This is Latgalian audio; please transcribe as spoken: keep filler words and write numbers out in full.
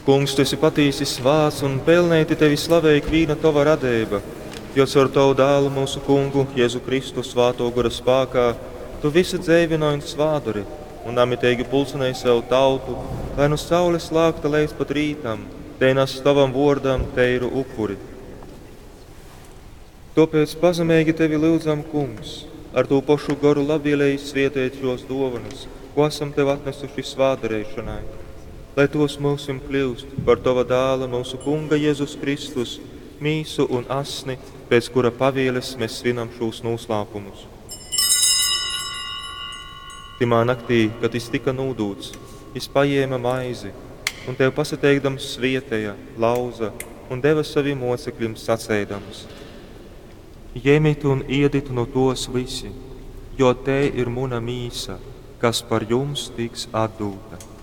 Kungs, tu esi patīsi svāts un pelneiti tevi slavej ikvīna tova radeiba, jo caur tovu dālu, mūsu kungu Jēzu Kristu svātō gora spākā, tu visu dzeivynoj un svādori un namiteigi pulcinej sev tautu, lai nu saules lākta leidz pat rītam, tei nas tovam vōrdam teiru upuri. Tōpēc pazemeigi tevi lyudzam, Kungs, ar tū pošu goru labvieleigi svieteit šōs dōvonas, ko asam tev atnesuši svātdareišonai, lai tos myusim kļyust par tova dāla, mūsu Kunga Jēzus Kristus, mīsu un asni, pēc kura pavieles mēs svinam šūs nūslāpumus. Tymā naktī, kad jis tika nūdūts, jis pajēma maizi un tev pasateikdams svieteja, lauza un deva savim mocekļim saceidams: Jemit un iedit nu tos vysi, jo tei ir muna mīsa, kas par jums tiks atdūta.